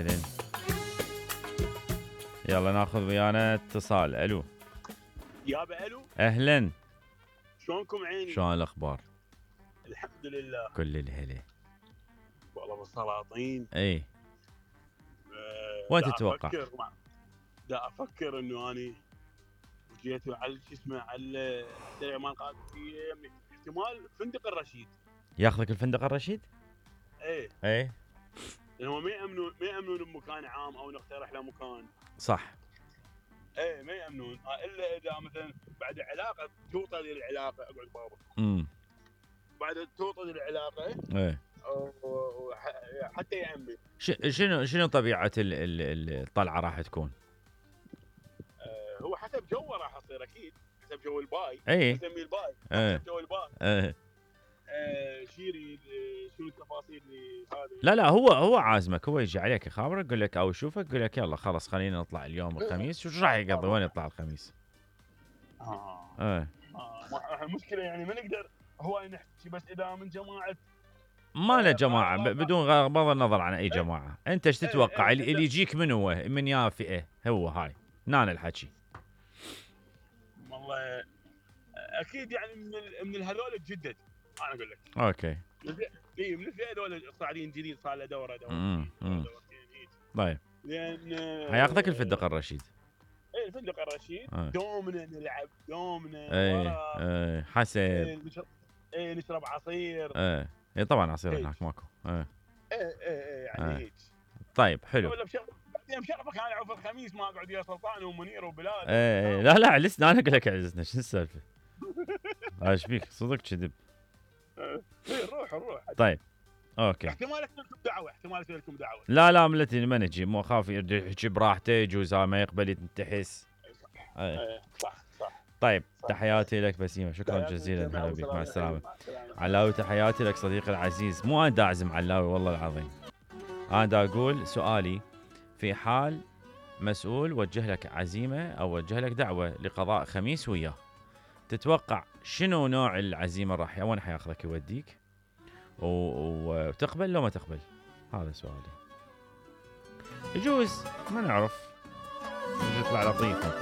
زين. يلا ناخذ ويانا اتصال. الو يابا الو. اهلا. شلونكم عيني؟ شلون الاخبار؟ الحمد لله. كل الهلا. والله بالسلاطين. اي. وين تتوقع؟ دا افكر انه اني جيت على شو اسمه على السريع مال قادسيه، احتمال فندق الرشيد. ياخذك الفندق الرشيد؟ ايه لانهم ما يامنون بمكان عام او نقترح له مكان. صح. ايه ما يامنون الا اذا مثلا بعد علاقه توطد العلاقه. اقعد بابا. بعد توطد العلاقه. ايه. حتى يامن. شنو طبيعه الطلعه راح تكون؟ هو حسب جوه راح يصير اكيد، حسب جو الباي. اي نسميه الباي. حسب جو الباي. شيري شنو التفاصيل اللي هذه. لا هو عازمك، هو يجي عليك يخابرك، يقول لك او يشوفك يقول لك يلا خلاص خلينا نطلع اليوم الخميس. شو راح يقضي؟ وين يطلع الخميس؟ المشكله يعني ما نقدر هو نحكي بس اذا من جماعه. ما له جماعه بدون بغض النظر عن اي جماعه. انت ايش تتوقع اللي يجيك من هو من يا فئه؟ هو هاي نان الحكي. والله اكيد يعني من هذول الجدد انا اقول لك. اوكي. من الفئه هذول صاعدين جديد، صار له دوره طيب. لان حياخذك الفندق الرشيد. ايه الفندق الرشيد. دومنا نلعب دومنا. ايه حسب. نشرب عصير. ايه طبعا عصير هناك ماكو. ايه يعني هيك. طيب حلو. بعدين مشرفك انا اعوف الخميس ما اقعد ويا سلطان ومنير وبلال. لا عجزنا انا اقول لك عجزنا. شو السالفه؟ ايش بيك صدق كذب؟ روح. طيب اوكي. احتمال اسوي لكم دعوه. لا ملتي ما نجي، مو اخاف يحكي براحته، يجوز ما يقبل ينتحس. صح. طيب تحياتي لك بسيمه، شكرا جزيلا. هلا بك، مع السلامه. علاوي تحياتي لك صديقي العزيز. مو انا دا اعزم علاوي والله العظيم، انا دا اقول سؤالي في حال مسؤول وجه لك عزيمه او وجه لك دعوه لقضاء خميس وياه، تتوقع شنو نوع العزيمه وين حياخذك يوديك؟ وتقبل لو ما تقبل؟ هذا سؤالي. يجوز ما نعرف، يطلع لطيف.